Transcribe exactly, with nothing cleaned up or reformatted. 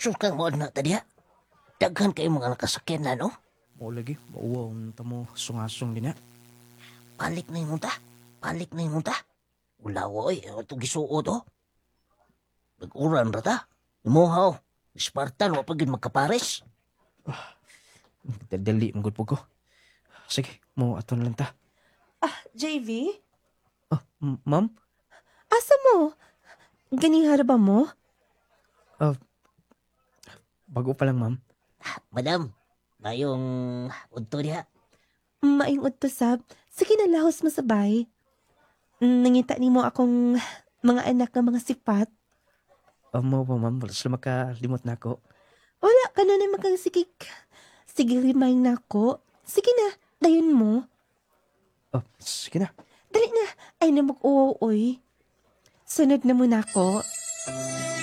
Sure kang mo na ta diha. Daghan kayo mga nakasakyan na, no? Mao lagi, mauwaw ta mo sungasong din ha. Balik na yung ta. Balik na yung ta. Ulawa, oy. Ito gisuot, oh. Nag-uran ra ta. Imuha, oh. Spartan, wa pa gyud magkapares. Dali, man gud po ko. Sige, mo ato na lang ta. Ah, J V? Ah, m- ma'am? Asa mo? Ganihara ba mo? Bago pa lang, ma'am. Madam, mayong udto diha. Maayong udto sab. Sige na, lahos mo sabay. Nangita nimo akong mga anak nga mga sipat. Uh, mao ba, ma'am? Wala sila makalimot na ako. Wala ka na na makasigig. Sige, remind na ako. Sige na, dayon mo. Oh, sige na. Dali na. Ay na mag-uwaw, oy. Sunod na muna ako.